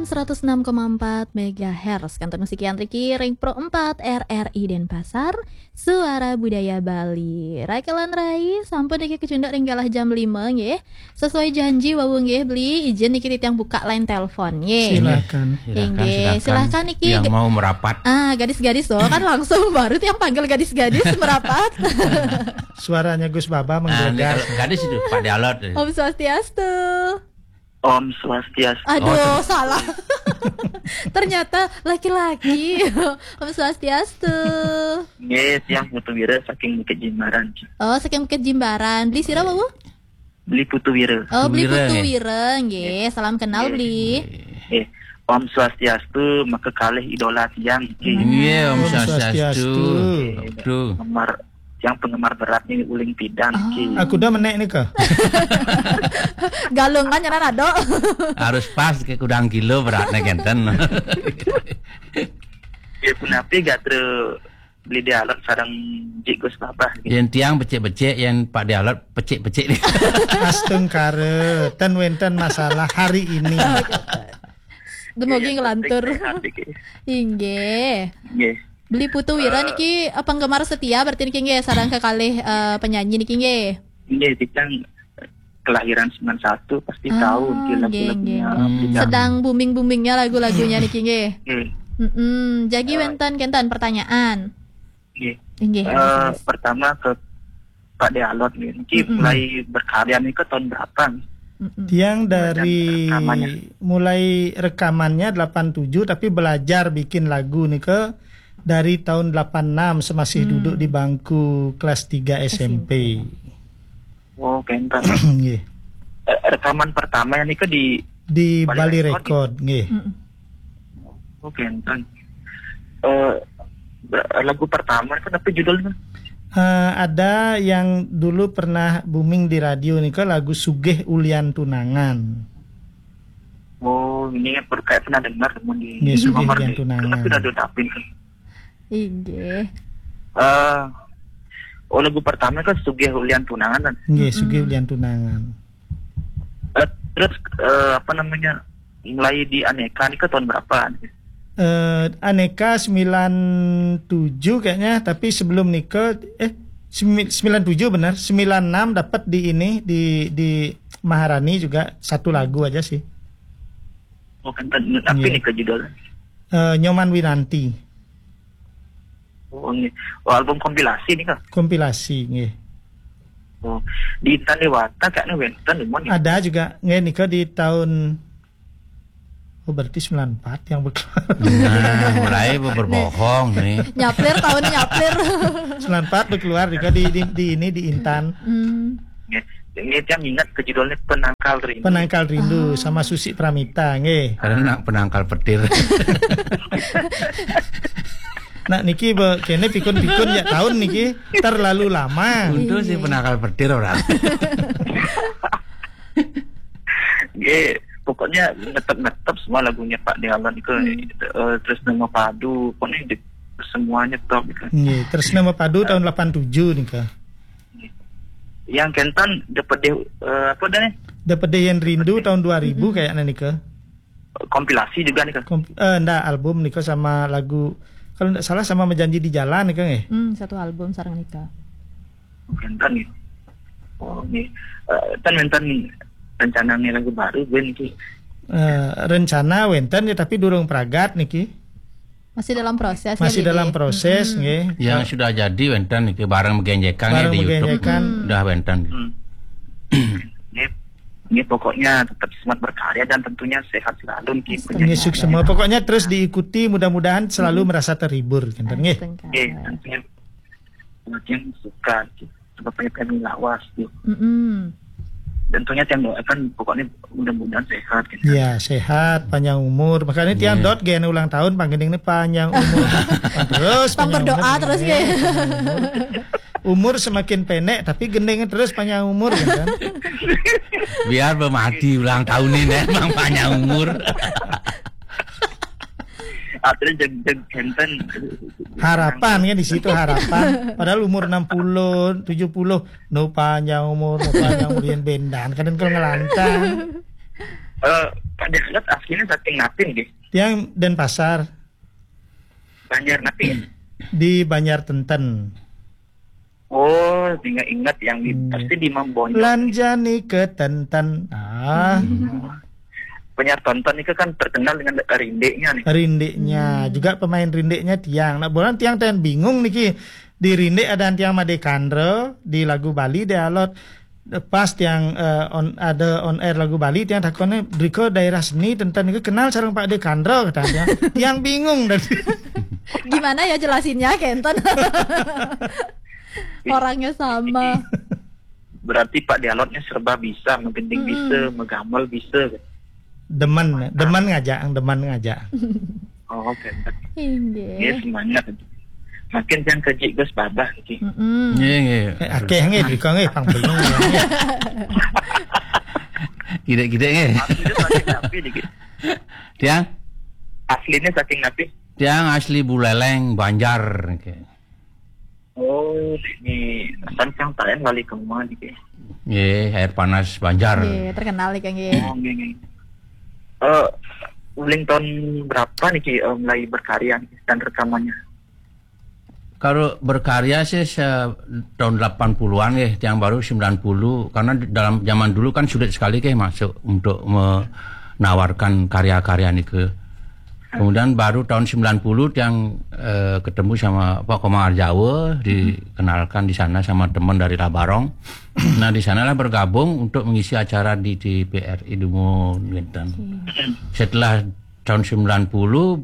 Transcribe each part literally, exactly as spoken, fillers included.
seratus enam koma empat megahertz. Kantor musik Yan Riki, Ring Pro empat, R R I Denpasar, Suara Budaya Bali. Rakelan Rai, sampun niki kecunduk ring galah jam lima nggih. Sesuai janji wau nggih, Bli, izin niki titiang buka line telepon nggih. Silakan. Silakan, Inggih, silakan. Silakan niki. Yang mau merapat. Ah, gadis-gadis loh, kan langsung baru tiang panggil gadis-gadis merapat. Suaranya Gus Baba. Ah, ini menggelegar. Kalau gadis itu, Pak Dialog. Om Swastiastu. Om Swastiastu. Aduh, Oh, salah. Ternyata laki-laki. Om Swastiastu. Nggih, tiang Putu Wira saking Bukit Jimbaran. Oh, saking Bukit Jimbaran. Beli sira, Wawu? Beli Putu Wira. Oh, Beli Wira, Putu nggih. Wira, nggih. Salam kenal, Nggih. Beli. Nggih. Om Swastiastu, maka kalih idola tiang iki. Nggih, Om Om Swastiastu. Swastiastu. Waduh. Penggemar, yang penggemar berat nih uling pidang Ah. iki. Aku dah menek nih, Kak. Galungan nyanan ada. Harus pas ke kudang kilo beratnya kenten. Ya, punapi gatra Beli Dialog sareng Jik Gus Babah gitu. Yang tiang becik-becik, yang Pak Dialog pecik-pecik. Astungkara, ten wenten masalah hari ini. Dumugi Iya, ngelantur. Penting sehat iki. Inggih. Nggih. Beli Putu Wira Eh. niki, eh, penggemar setia berarti niki nggih, sareng kekalih, eh, penyanyi niki nggih. Nggih, tiang kelahiran sembilan satu, pasti Ah, tahu nggih, nggih, lagu-lagunya nggih. Hmm. Beli Dialog. Sedang booming-boomingnya lagu-lagunya niki nggih. Nggih. Mm-mm. Jagi Eh. wenten kenten pertanyaan. Nggih. Inggih, Eh, Mas. Pertama ke Pak Dialog nggih. Niki Mm-mm. mulai berkarya nih ke tahun berapa nih? Mm-mm. Tiang dari Dan rekamannya. mulai rekamannya delapan tujuh, tapi belajar bikin lagu nih ke dari tahun delapan enam semasih Hmm. duduk di bangku kelas tiga S M P. S M P. Oh, kenten. Nggih. Eh, rekaman pertama yang nika di Di Bali Bali Record, Record, nggih. Mm-mm. Oh, kenten. Eh, lagu pertama itu apa judulnya? Eh, ada yang dulu pernah booming di radio nika, lagu Sugih Ulian Tunangan. Oh, ini per-, kayak pernah dengar, teman di Nggih, Sugih nomor Ulian di, Tunangan. Tapi udah dapin. Inggih. Eh, oh, lagu pertama kan Sugih Ulian Tunangan kan? Nggih, Sugih Mm-mm. Ulian Tunangan. Eh, terus, eh, apa namanya, mulai di Aneka nih ke tahun berapa? Eh, Aneka sembilan tujuh kayaknya, tapi sebelum nika, eh, semi-, sembilan tujuh benar, sembilan enam dapat di ini, di, di Maharani juga satu lagu aja sih. Oh, kenten. Tapi Iya. nih ke judulnya? Eh, Nyoman Winanti. Oh, nggih. Oh, album kompilasi nih, Kak? Kompilasi, nggih. Oh, di Intan Dewata kayaknya wenten, Mon, ya? Ada juga, nggih, nika di tahun, oh, berarti sembilan empat yang berkeluar. Nah, mulai ber-, berbohong nih. Nyaplir, tahunnya nyaplir. Sembilan empat berkeluar nika di, di, di ini, di Intan. Hmm. Nggih. Ini tiang ingat ke judulnya Penangkal Rindu. Penangkal Rindu Ah. sama Susi Pramita, nggih. Karena nak penangkal petir. Nak niki be-, kene pikun-pikun ya tahun niki terlalu lama. Untung sih Iya. penangkal petir orang. Nggih, pokoknya ngetep-ngetep semua lagunya Pak Dialog itu, Hmm. eh, Tresna Mapadu, pokoknya di-, semuanya top gitu. Nggih, Tresna Mapadu tahun delapan tujuh nika. Yang kenten Depedih, eh, apa dah nih? Depedih Yang Rindu tahun dua ribu Mm-mm. kayaknya nika. Kompilasi juga nih, Kak? Komp-, eh, ndak, album nika sama lagu, kalau ndak salah sama Menjanji di Jalan nika nggih? Hmm, satu album sareng nika. Kenten nih. Oh, nih. Eh, kan wenten rencana nih lagu baru, gue nih. Eh, rencana wenten ya, tapi durung pragat niki. Masih dalam proses, Masih ya, dalam Didi? proses, Mm-mm. nggih. Yang Eh, sudah jadi wenten niki, bareng Megenjekan ya bareng di YouTube. Megenjekan. Hmm. Udah wenten. Hmm. Nggih. Nggih, pokoknya tetap semangat berkarya dan tentunya sehat selalu nggih. Astagfirullah. Nggih, sukses semua. Pokoknya terus diikuti, mudah-mudahan selalu Hmm. merasa terhibur, kenten nggih. Astagfirullah. Nggih, tentunya. Yang suka, gitu. Sebab banyak yang lawas, gitu. Mm-mm. Tentunya yang doakan, pokoknya mudah-mudahan sehat, gitu. Ya, sehat, panjang umur. Makanya tiang Iya. dot gen ulang tahun, panggending ini panjang umur. Terus Tong panjang berdoa umur, terus, ya, ya. Panjang umur. Umur semakin pendek, tapi gending terus panjang umur, ya kan? Biar bermati ulang tahun ini, emang panjang umur. Artinya jeg-, jeg-, genten. Harapan kan di situ, harapan. Padahal umur enam puluh, tujuh puluh, no panjang umur, no panjang umur, yang bendan, kadang kalau ngelantang. Eh, Ade Alot asline saking napi nggih? Tiang Denpasar. Banjar napi? Di Banjar Tenten. Oh, inget-inget yang di, hmm, pasti di Mambonyo. Lanjani ke Tenten. Ah. Hmm. Penyiar Tonton itu kan terkenal dengan rindiknya nih. Rindiknya. Hmm. Juga pemain rindiknya tiang. Nah, bulan tiang ten bingung niki. Di rindik ada tiang Made Kandro, di lagu Bali Ade Alot. Pas tiang, eh, on, ada on air lagu Bali, tiang takonnya, "Driko daerah seni Tenten itu kenal sareng Pak Ade Kandro," kata tiang. Tiang bingung tadi. Gimana ya jelasinnya, kenten? Orangnya sama. Berarti Pak Ade Alotnya serba bisa, menggending, mm-mm, bisa, megamel bisa. Demen, mantap. Demen ngajak, demen ngajak. Oh, oke. Inggih. Nggih, semangat. Makin yang kejik Gus babah iki. Mm-mm. Nggih, nggih. Eh, akeh nggih, driko nggih, pang belum nggih. Gidek-gidek nggih. Asline saking napi niki? Tiang? Asline saking napi? Tiang asli Buleleng, Banjar niki. Oh, ini asal sang taen wali kemah niki. Nggih, Air Panas Banjar. Nggih, terkenal niki nggih. Oh, nggih, nggih. Eh, uling tahun berapa niki, eh, mulai berkarya niki dan rekamannya? Kalau berkarya sih se-, tahun delapan puluhan nggih, tiang baru sembilan puluh, karena di dalam zaman dulu kan sulit sekali nggih masuk untuk menawarkan karya-karya niki. Kemudian baru tahun sembilan puluh tiang, eh, ketemu sama Pak Komang Arjawa, dikenalkan di sana sama teman dari Labarong. Nah, di sanalah bergabung untuk mengisi acara di T V R I Dumun, gitu. Oke. Setelah tahun sembilan puluh,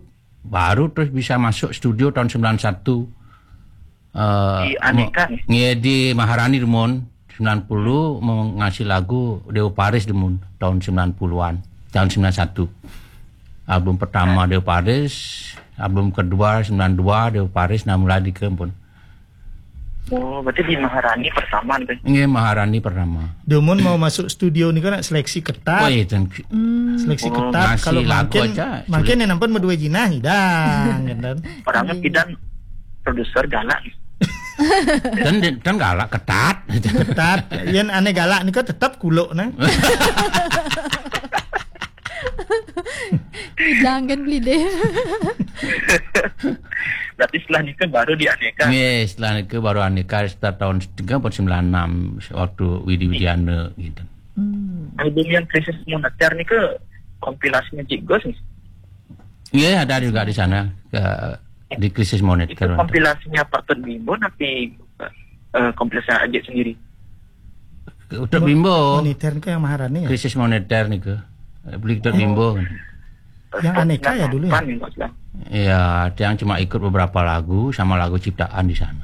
baru terus bisa masuk studio tahun sembilan satu. Eh, di Aneka, mo-, nggih, di Maharani Dumun, sembilan puluh, mengasih lagu Dewa Paris Dumun, tahun sembilan puluhan, tahun sembilan satu. Album pertama Dewa Paris, album kedua sembilan dua Dewa Paris, nah, mulai di kempun. Oh, berarti di Maharani pertama niki? Nggih, Maharani pertama. Dumun mau masuk studio niki nak seleksi ketat. Oh, iya, dan seleksi ketat. Kalau lagu makin, aja makin sulit. Yang nampen berdua jinah, hidang, kan? Orangnya pidan produser galak. Dan, dan galak, ketat. Ketat. Yen ane galak niki tetep kuluk, nah. Hidang kan beli deh. Berarti setelah nikah baru di Aneka? Nggih, setelah nikah baru Aneka sekitar tahun tiga puluh sembilan enam, waktu Widi Widiana gitu. Hmm. Album yang Krisis Moneter nika kompilasinya Cik Gus nih? Iya, ada juga di sana, ke, di Krisis Moneter. Itu kompilasinya Pak Tut Bimbo tapi, eh, kompilasi Ajik sendiri? Untuk Bimbo. Moneter nika yang Maharani ya? Krisis Moneter nika. Beli Tut Bimbo. Yang Aneka ya dulu ya? Iya, tiang cuma ikut beberapa lagu sama lagu ciptaan di sana.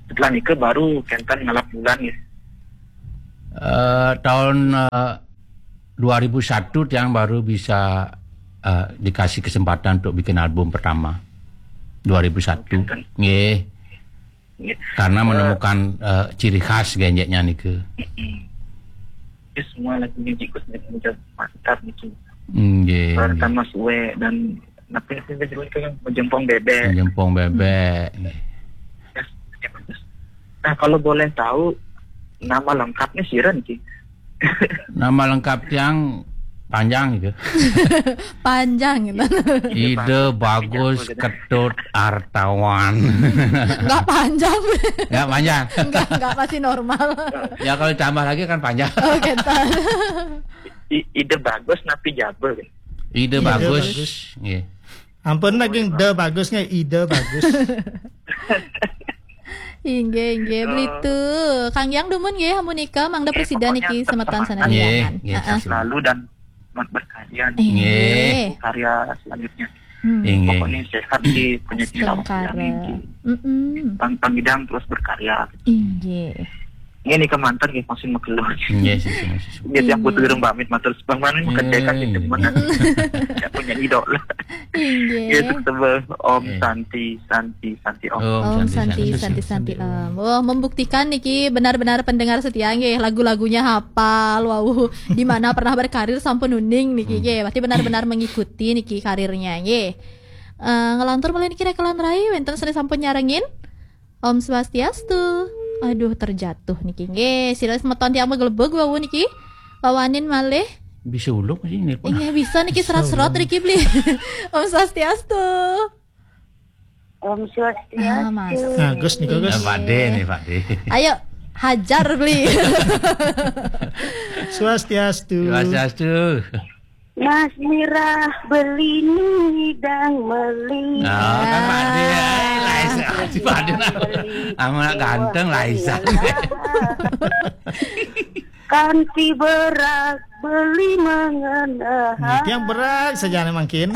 Setelah nika baru kenten ngalap bulan ya? Eh, tahun, eh, dua ribu satu tiang baru bisa, eh, dikasih kesempatan untuk bikin album pertama. Dua ribu satu. Kenten. Nggih. Nggih. Karena, eh, menemukan, eh, ciri khas genjeknya nika. Mm-mm. Ini semua lagunya Cik Gus nika mantap niki. Nggih, nggih. Pertama suwe dan napi sih judulnya kan Jempong Bebek. Jempong Bebek. Hmm. Nggih. Ya, ya, bagus. Nah, kalau boleh tahu nama lengkapnya sira niki? Nama lengkap tiang panjang gitu. Panjang gitu. Ide Bagus, Bagus tapi Jago gitu. Ketut Artawan. Nggak panjang. Nggak panjang. Nggak, nggak, masih normal. Ya, kalau ditambah lagi kan panjang. Oh, kenten. I-, Ide Bagus napi Jago gitu. Ide Ide Bagus. Bagus. Nggih. Ampun lagi, ide bagusnya, ide bagus. Inggih, inggih, eh, belitu. Kang Yang dumun nggih, ampun nika, mangda eh, presida pokoknya niki semeton sana. Nggih, liangan. Nggih, heeh. Selalu dan selamat berkarya nih. Inggih. Nggih. Karya selanjutnya. Hmm. Inggih. Pokoknya sehat sih, punya cita. Sekarang. Yang inti. Mm-mm. Pang-, pangidang terus berkarya. Inggih. Ini kemantan nggih, masih magelor. Nggih, sih, sih, sih. Dia tiap butuh gerung pamit, matur sebang mana mengkerjakan di demen. Tidak punya idola. Inggih. Itu sebel Om Santi, Santi, Santi Om. Om Santi, Santi, Santi, Santi, Om. Oh, membuktikan niki benar-benar pendengar setia nggih, lagu-lagunya hafal, wau di mana pernah berkarir sampun uning niki nggih. Berarti benar-benar mengikuti niki karirnya nggih. Eh, ngelantur malih niki rekelan rai, wenten sane sampun nyarengin. Om Swastiastu. Aduh, terjatuh niki. Nggih, sira semeton tiang magelebeg wau niki. Wawanin malih. Bisa ulung sih nelpon. Iya, bisa niki. Bisa serat-serat ulung. Riki beli. Om Swastiastu. Om Swastiastu. Ah, Mas. Nah, Gus nih, Gus. Nah, Pak De nih, Pak De. Ayo, hajar beli. Swastiastu. Swastiastu. Mas Mirah beli nidang meli. Nah, kan Pak De, eh, Laisa. Si Pak De nah. Beli. Anak ganteng, Laisa. Kanti berak beli mengenai. Nah, tiang berak saja nih mungkin.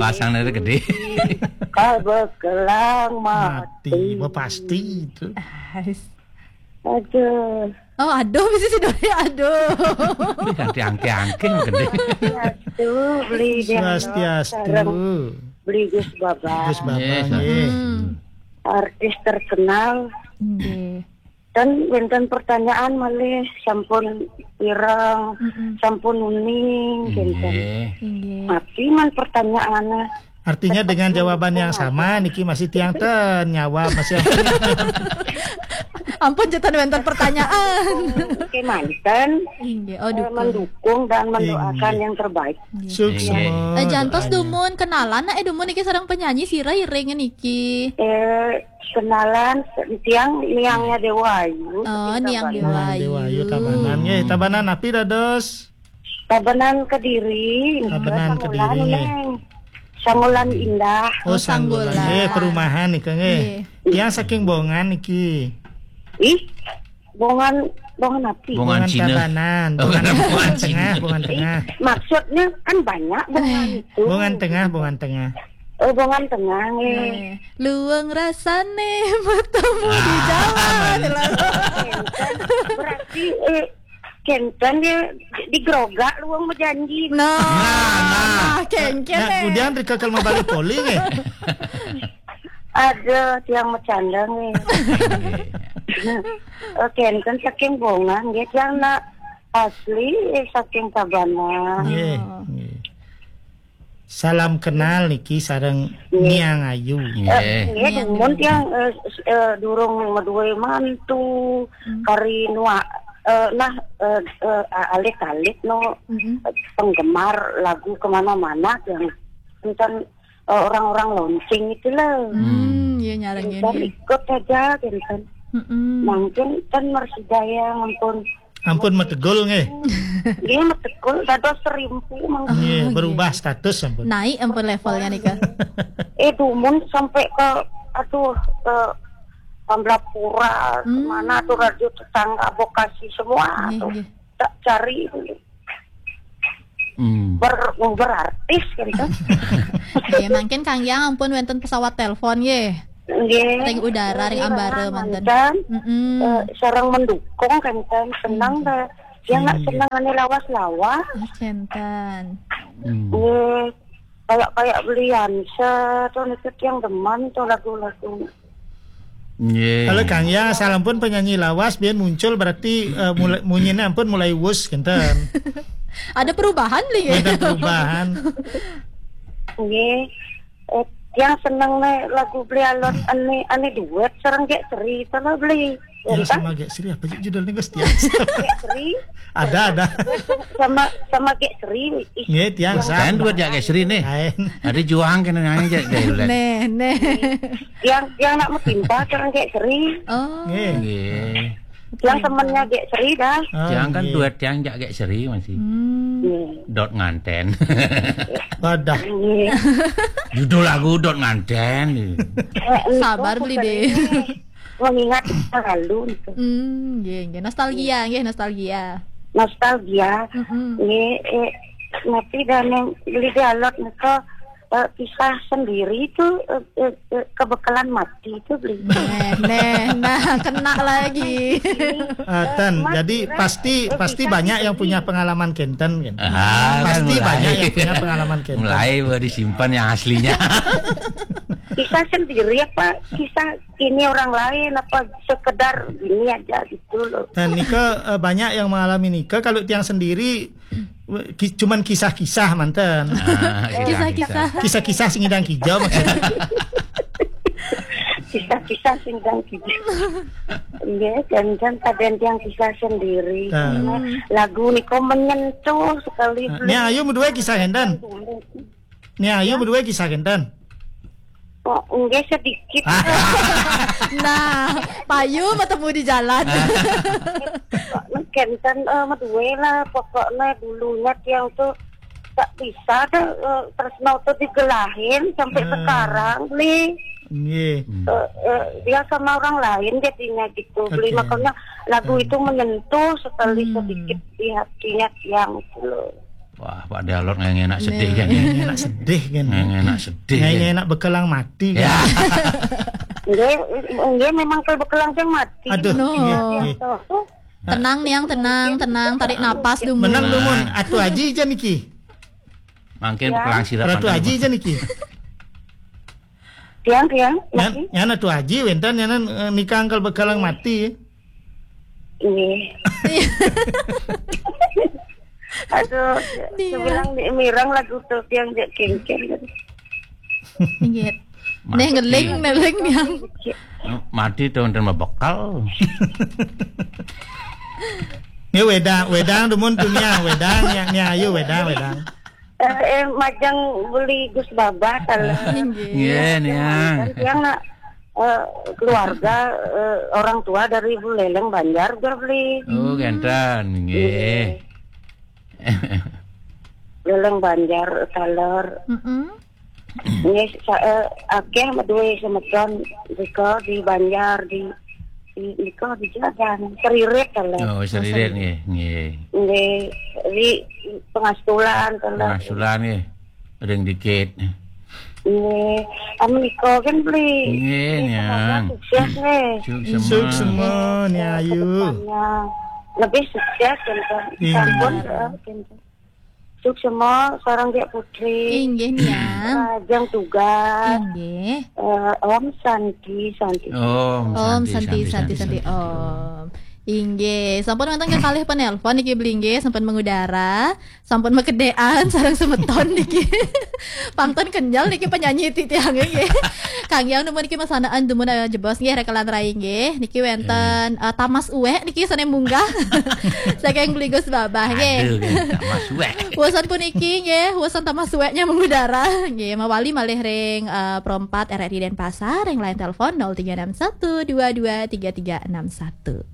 Pasang dari gede. Kalau bekelang mati. Mati, bah pasti itu. Aduh. Oh, aduh, bisa si Doni, aduh. Ini ganti angke-angke gede. Swastiastu, beli dia. Swastiastu. Sareng beli Gus Baba. Gus Baba, nggih. Hmm. Artis terkenal. Nggih. Dan wénten pertanyaan malih sampun pireng, mm-mm, sampun uning, kinten. Nggih. Nggih. Tapi man pertanyaannya. Artinya dengan jawaban yang sama, niki masih tiang ten nyawa masih. Ampun, jatan wénten pertanyaan. Oke, manten. Inggih, oh, eh, dukung. Mendukung dan mendoakan, inggih, yang terbaik. Inggih. Sukses. Inggih. Eh, jantos dumun kenalan, nah, eh, dumun niki sareng penyanyi sira iring niki. Eh, kenalan, tiang niangnya Dewa Ayu. Oh, niang Dewa Ayu. Niang Dewa Ayu, Tabanan. Nggih, Tabanan napi dados? Tabanan Kediri. Tabanan Kediri, nggih. Sangolan Indah. Oh, Sangolan. Sangolan. Nggih, perumahan niki, nggih. Nggih. Tiang saking Bongan niki. Ih, Bongan, Bongan napi? Bongan Cina. Tabanan. Oh, Bongan Tengah, Bongan Tengah. Maksudnya kan banyak Bongan itu. Bongan Tengah, Bongan Tengah. Oh, Bongan Tengah, nggih. Nggih. Luwung rasane bertemu di jalan. Berarti, eh, Kenten ya digrogak luang berjanji. Nah, nah, nah. Kenten. Nah, kemudian rika kalau mau balik poli nggih. Ada tiang bercanda nggih. Oh, kenten saking Bongan nggih, tiang nak asli, eh, saking Tabanan. Nggih, nggih. Salam kenal niki sareng Niang Ayu. Eh, nggih, dumun tiang, eh, s-, eh, durung madué mantu, kari nuak, eh, nah, eh, eh, a-, alit-alit no, eh, penggemar lagu kemana-mana tiang. Tentang, eh, orang-orang launching itulah. Hmm, iya, nyarengin, tentang ya. Ikut saja, tentang. Mungkin kan Mersidaya, ampun. Ampun metegul nggih. Nggih, metegul dados serimpu mangke. Nggih, berubah status ampun. Naik ampun levelnya nika. Eh, dumun sampai ke, aduh, ke Tambelapura, kemana tuh, radio tetangga, Bekasi semua tuh. Nggih, nggih. Tak cari. Hmm. Ber-, berartis gitu. Nggih, mungkin Kang Yang ampun wénten pesawat telepon nggih. Nggih. Ring udara, ring ambara manten. Manten. Mm-mm. Eh, sareng mendukung kan, kan. Senang dah. Dia nggak seneng ane lawas-lawas. Oh, kenten. Hmm. Nggih. Kayak, kayak belian tuh, niku tiang demen tuh lagu-lagu. Nggih. Kalau Kang Yang asal ampun penyanyi lawas biar muncul berarti, eh, mulai, munyine ampun mulai wus kenten. Ada perubahan beli ya? Ada perubahan. Nggih. Eh, yang seneng nih lagu beli alon ane, ane duet sareng Gék Sri, sama beli. Ya, sama Gék Sri apa sih judulnya, Gus? Tiang. Gék Sri. Ada, ada. Sama, sama Gék Sri. Ih, nggih, tiang sama. Kan duet ya Gék Sri nih. Lain. Ada juang kena nyanyi Gék Sri. Neh, neh. Yang, yang nak metimpa sareng Gék Sri. Oh. Nggih. Nggih. Yang temennya Gék Sri dah. Oh, tiang kan nggih. Duet tiang jak Gék Sri masih. Hmm. Nggih. Dot nganten. Wadah. Nggih. Judul lagu Dot Nganten. Eh, sabar beli deh. Mengingat masa lalu gitu. Hmm, nggih, nggih. Nostalgia, nggih, nostalgia. Nostalgia. Mm-mm. Nggih, eh, nanti dan yang beli dialog nika, eh, pisah sendiri itu, eh, eh, eh, kebekelan mati itu beli. Neh, neh, nah, kena lagi. Ah, ten, jadi pasti, pasti banyak yang punya pengalaman kenten kan? Ah, pasti kan mulai. Banyak yang punya pengalaman kenten. Mulai baru disimpan yang aslinya. Kisah sendiri apa kisah ini orang lain apa sekedar gini aja gitu loh. Dan nika, eh, banyak yang mengalami nika. Kalau tiang sendiri, ki-, cuman kisah-kisah manten. Ah, kisah-kisah. Kisah-kisah sing idang kijau maksudnya. Kisah Kisah sing dan kisah. Nggih, dan dan kadang tiang kisah sendiri. Nah. Lagu niku menyentuh sekali. Nah, ini ayo berdua kisah enten. Ini ayo berdua kisah enten. Oh, nggih sedikit. Nah, payu ketemu di jalan. Kenten eh, medue lah pokoknya dulunya tiang tuh tak bisa deh eh, terus mau tuh digelahin sampai sekarang beli Nggih. eh, eh, dia sama orang lain jadinya gitu beli Oke. Makanya lagu itu menyentuh sekali sedikit di hatinya tiang itu loh. Wah, Pak Dalor nggak enak sedih kan? Nggih enak sedih kan. Nggak enak sedih Nggih kan? Enak bekelang mati. Ya. Nggih, nggih memang kalau bekelang yang mati. Aduh, No. nggih, nggih. Tuh, Tenang niang, tenang, tenang, tarik napas dulu. Menang dumun. Atu Aji aja niki. Mungkin pelang sirap Ratu mantan Aji apa? aja niki. tiang tiang Nyan, masih. nyan Atu Aji wenten nyan eh, nikah angkel bekelang mati. Nggih. Aduh, Dia. Sebilang di mirang lagu tuh tiang jek kengkeng. Inggih. Neh ngeling, ngeling niang. Mati tuh dan mabekal. Nggih wedang, wedang dumun dunia, wedang yang ni ayo wedang, wedang. Eh, eh, majang beli Gus Baba kalau Inggih. Iya, niang. Tiang nak eh, keluarga eh, orang tua dari Buleleng Banjar juga beli. Oh, genten, nggih. Buleleng Banjar taler. Mm-mm. Ini saya akeh medue semeton riko di Banjar di di riko di jalan teririt taler. Oh, serius nggih, nggih. Nggih, di pengastulan taler. Pengasulan nggih. Ring dikit. Nggih, anu riko kan beli. Nggih, Nggih, niang. Sukses nih. Suksema. Suksema ni ayu. Kedepannya lebih sukses kan. Iya. Sampun eh, kan. Suksema sarang Diak Putri. Inggih niang. Lajeng tugas. Inggih. Eh, Om Santi Santi. Om Om Santi, Santi, Santi, Om. Inggih, sampun wonten kekalih penelpon niki beli nggih, sampun mengudara, sampun makedhekan sareng semeton niki. Pangton kenjal niki penyanyi titiang nggih. Kang Yang dumun niki masanaan dumun eh, jebos nggih rekelan rai nggih. Niki wenten eh, Tamas Uwek niki sane munggah. Saking beli Gus Babah nggih. Aduh, tak masuk. Wusan puniki nggih, wusan tambah suweknya mengudara. Nggih, mawali malih ring eh, Pro empat R R I Denpasar, ring line telepon nol tiga enam satu dua dua tiga tiga enam satu.